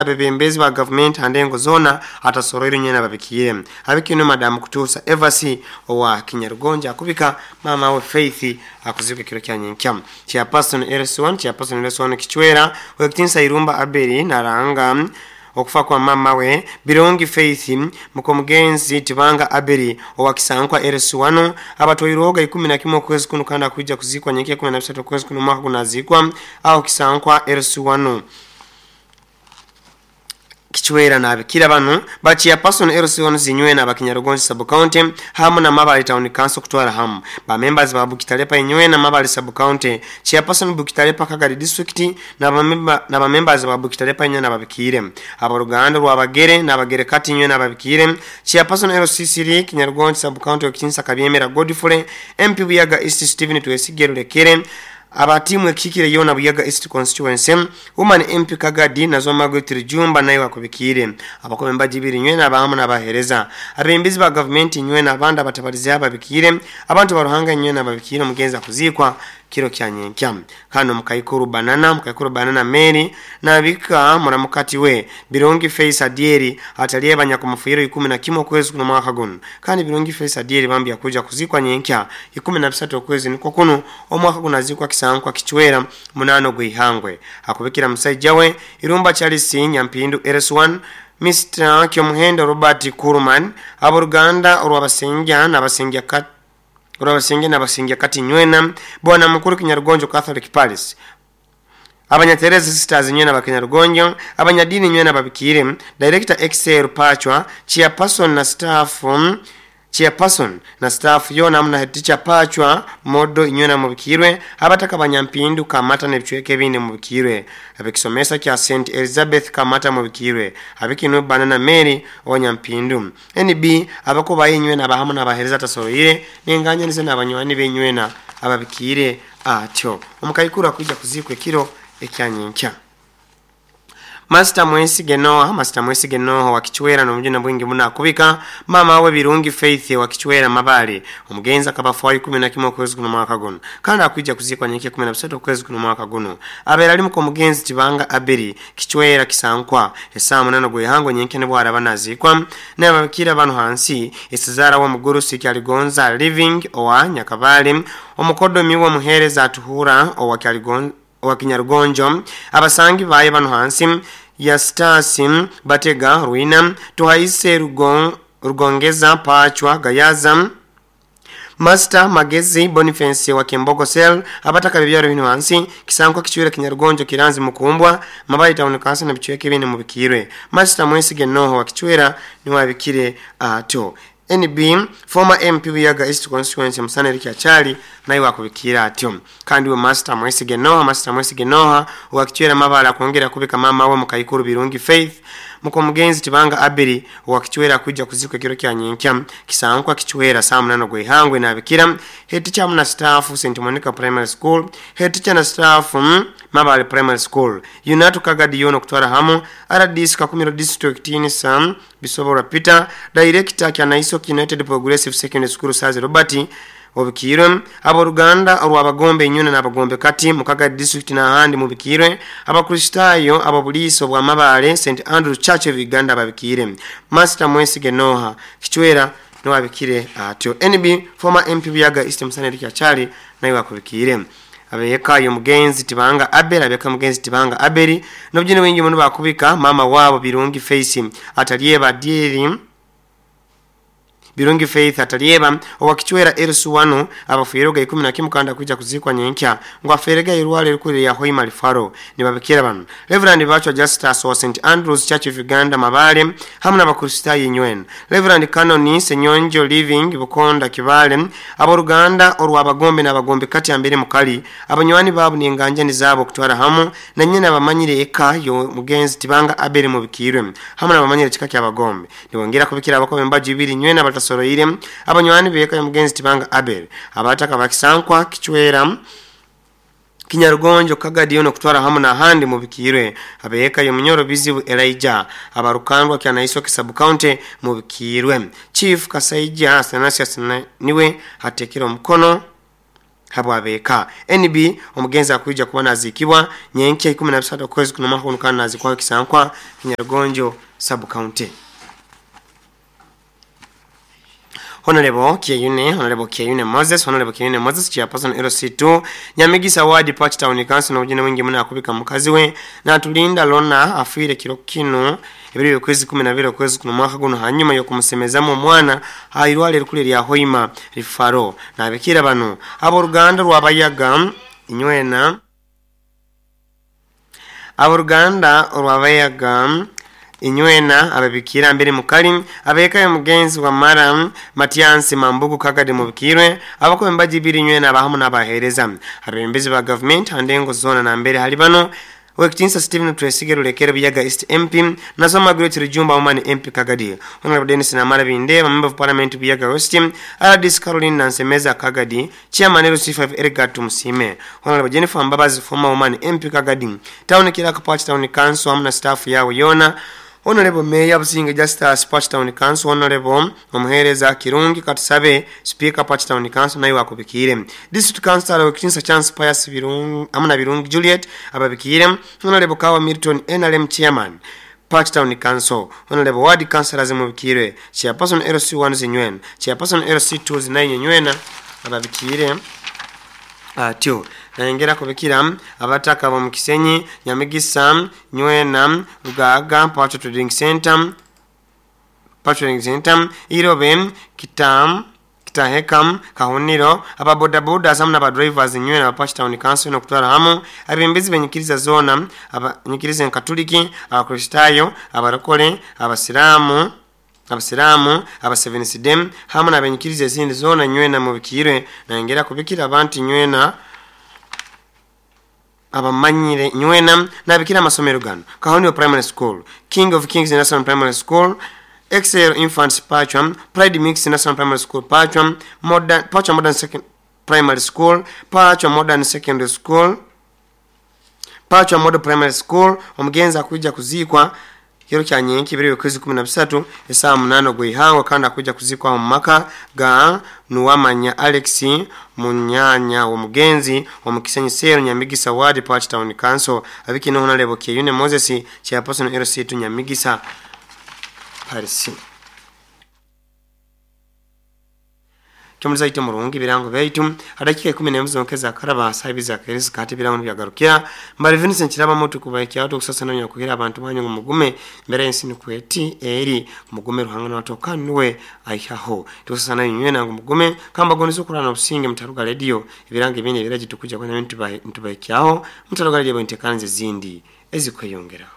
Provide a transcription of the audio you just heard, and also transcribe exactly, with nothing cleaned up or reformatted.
Abebembezi ba gavumenti handengo zona atasoroire nyena babikiire. Abikino madamu Kutuusa Evasi owa Kinyarugonja akubika mama we Faith akuzika kiro kya nyenkya. Chairperson L S one, chairperson L S one Kichwera, wekitinsa Irumba Aberi naranga okufa kwa mama we Birungi Faith, mukomugenzi Tibanga Aberi owa Kisankwa L S one, abatwairoga ikumi na kimwe okwezi kuno, kandi akuija kuzikwa nyenkya kumi na bisatu okwezi kuno mwaka gunazikwa aho Kisankwa L S one Kichwera. Nabikira bano ba chairperson L C one zinywena abakinyarugonzi sub county hamu na Mabali Town Council kutwara hamu ba members ba Bukitalepa inywena Mabali sub county, chairperson Bukitalepa Kagari district na ba member na ba members ba Bukitalepa inywena babikire. Abaruganda rwabagere nabagere kati inywena babikire. Chairperson L C three Kinyarugonzi sub county, Okinsa Kabyemera Godfrey, M P Buyaga East Stephen Twesigero Lekere, abatimu ekikire yona Buyaga East constituency, woman M P Kagadi nazo Margaret Jumba naye wakubikire. Abakombe mbajibiri nywena abahamu n'abahereza, abembizi ba gavumenti nywena, abandi abatabarizi ababikire, abantu baruhanga nywena babikire. Omugenzi akuzikwa kiro kya nyenkya. Kano mukaikuru banana mukaikuru banana Mary nabika muramukati we Birungi Face Adieri ataliye banyakumufiro ikumi na kimwe okwezi kuno mwaka guno. Kandi Birungi Face Adieri bambi akuja kuzikwa nyenkya ikumi na bisatu okwezi niko kuno omwaka guno, azikwa Kisankwa Kichwera munano gwihangwe. Akubikira musajja we Irumba Charles Nyampindu L S one, Mister Kyomuhendo Robert Kurman, aboluganda olwabasengya n'abasengya kat olwabasengya n'abasengya kati nywena, bwana mukuru Kinyarugonjo Catholic Palace, abanyatereza Sisters nywena bakinyarugonjo, abanyadini nywena babikire. Director Excel Pachwa, chairperson na staff um, chairperson na staff yona amuna head teacher Pachwa Modo inywena mubikirwe. Abataka banyampindu Kamata nebicweka ebindi mubikirwe. Abekisomesa kya Saint Elizabeth Kamata mubikirwe. Abikinu Banana Mary owanyampindu N B, abakuba inywena abahamu n'abahereza tasoroire nenganyanize n'abanywani benywena ababikire atyo. Omukaikuru akuija kuzikwa ekiro ekyanyenkya. Master Mwesige Noah, Master Mwesige Noah wa Kichwera n'omujuna bwingi muno akubika mama we Birungi Faith wa Kichwera Mabale. Omugenzi akaba ikumi na kimwe okwezi guno mwaka guno, kandi akwijja kuzikwa nyenkya kumi na bisatu okwezi guno mwaka guno. Abeera ali muka omugenzi Tibanga Aberi Kichwera Kisankwa, essaawa munana gwehango nyenkya ne bwaraba naziikwa. Nababikira bano hansi: esizaara w'omugurusi Kyaligonza Living owa Nyakabale, omukodomi w'omuheereza Atuhura owa Kyaligonza owa Kinyarugonjo, abasangi baye bano hansi: Yastasi Batega Ruina, Tuhaise Rugon, Rugongeza Pachwa Gayaza, Master Magezi Boniface wa Kembogo Cell, abataka bibyaro bino hansi: Kisankwa Kichwera Kinyarugonjo Kiranzi Mukumbwa Mabali Town Council na bicweke bine mubikirwe. Master Mwesige Noho wa Kichwera niwabikire atyo. N B, former M P Buyaga East constituency Musana Eric Achali naye wakubikira atyo. Kandi we Master Mwesige Noha, Master Mwesige Noha wa Kichwera Mabala kwongera kubika mama we Mukaikuru Birungi Faith, muko mugenzi Tibanga Abiri wa Kichwera, kujja kuzikwa ekiro kya nyenkya Kisankwa Kichwera saa munano gwehangwe. Nabikira head teacher na staff Saint Monica Primary School, head teacher na staff mm, Mabale Primary School, Unatu Kagadi yono kutwara hamu, R D C Kakumiro District Sam Bisobora Peter, director Kyanaiso United Progressive Secondary School Sazi Robert obikirwe. Abooluganda olwabagombe enyuna n'abagombe kati mukaga district n'ahandi mubikirwe. Abakristaayo ababuliiso bwa Mabale Saint Andrew Church of Uganda babikire. Master Mwesige Noha Kichwera niwabikire atyo. N B, former M P Buyaga East Musana Eric Achali naye wakubikire. Abeka mugenzi Tibanga Abel, abeka mugenzi Tibanga Abeli nobjine wingi muno bakubika mama wabo Birungi Face atalyeba dieri Birungi Faith atalyeba owa Kichwera L C one, abafiiroga ikumi na kimu kanda kuja kuzikwa nyenkya ngo aferega irwale rikuri ya Hoima Lifaro. Nibabikira bano: Reverend Bachwa Justus wa Saint Andrews Church of Uganda Mabale hamwe n'abakristaayo inywen, Reverend Canon Senyonjo Living Bukonda Kibale, aboluganda olwabagombe n'abagombe kati ambere mukali, abanywani baabo n'enganjani zaabo okutwara hamu na nyina abamanyire eka yo mugenzi Tibanga Abere mubikirwe hamwe n'abamanyire kika ky'abagombe. Nibongera kubikira abakombe mbaju ibiri nywena batasoroire, abanywani beka yo mugenzi Tibanga Abel, abataka bakisankwa Kichwera Kinyarugonjo Kagadi ono kutwara hamu n'ahandi mubikirwe. Abeeka yo Munyoro Bizibu Elijah, abarukandwa Kyanaiso Kisabu County mubikirwe. Chief Kasaija Athanasius niwe atekera omukono. habwabeka N B omugenzi akuija kuba nazikibwa nyenkya ikumi na bisatu kwezi kuno mwaka guno kandi nazikwa Kisankwa Kinyarugonjo sub county. Honorable Kyeyune, Honorable Kyeyune Moses, Honorable Kyeyune Moses, Chairperson L C two, Nyamigisa Ward Party Town Council na ujene wingi muna akubika mukazi we, na tulinda lona afuire kiro kino, ebiri okwezi kumi na bibiri okwezi kuno mwaka guno hanyuma y'okumusemezamu omwana airwale rukule lya Hoima Rifaro. Na abikira bano aboluganda rwabayaga inywena aboluganda rwabayaga inywena ababikira mbere mukali abeka mugenzi wa mara Matiansi Mambugu Kagadi mubikirwe abako mbaji biri inywena abahamu n'abahereza abembezi ba government andengo zona na mbere hali bano Wekitinsa Stephen Twesige Rulekero Biyaga East M P Nasoma Great Rujumba Woman M P Kagadi Honorable Dennis Namara Binde Member of Parliament Biyaga West R D C Caroline Nansemeza Kagadi Chairman L C five Edgar Tumusime Honorable Jennifer Mbabazi former Woman M P Kagadi Town Clerk Party Town Council amna staff yawe yona Honorable Mayor Businge Justice Party Town Council Honorable Omuhereza Kirungi Katusabe Speaker Party Town Council nayo akubikire District Councilor Wekitinsa Chance Pius Birungi amna Birungi Juliet ababikire Honorable Kawa Milton N R M Chairman Party Town Council Honorable Ward Councilors mubikire Chairperson L C one Zinywen Chairperson L C two Zinanye Nywena ababikire atyo naengera kubikira abataka bo mukisenyi Nyamigisa Nywena Rugaga Party Trading Center Party Trading Center Irobe Kitam Kitahekam Kahuniro ababoda boda samna ba drivers Nywena Party Town Council no kutwara hamu abembezi benyikiriza zona abanyikiriza Katoliki abakristayo abarokole abasilamu abasilamu abasevensidem hamu nabenyikiriza ezindi zona Nywena mubikirwe naengera kubikira abantu Nywena abamanyire Nywena nabikira amasomero gano Kahonio Primary School King of Kings National Primary School Excel Infants Pachwam Pride Mix National Primary School Pachwam Modern Pachwam Modern Second Primary School Pachwam Modern Secondary School Pachwam Modern Primary School omugenzi akuja kuzikwa kiro kya nyenki biri kwezi kumi na bisatu esaa munano gweihangwa kandi akuja kuzikwa mu maka ga Nuwamanya Alex Munyanya omugenzi omukisenyi sero Nyamigisa Ward Party Town Council abikino Honorable Kyeyune Moses Chairperson L C two Nyamigisa Paris. Tumaliza ite murungi birango baitu adakika ikumi na mzo karaba sahibi keresi kati birango byagarukira mbali Vincent Kiraba moto kubaiki watu kusasa nanyo kugira abantu banyu mugume mbere y'ensini kweti eri mugume ruhanga natoka nuwe aihaho tusasa nanyo nywena mugume kamba gonizo kurana obusinge mutaruga radio ibirango ibindi biraji tukuja kwa ntubaiki aho mutaruga radio ntekanze zindi ezikweyongeraho.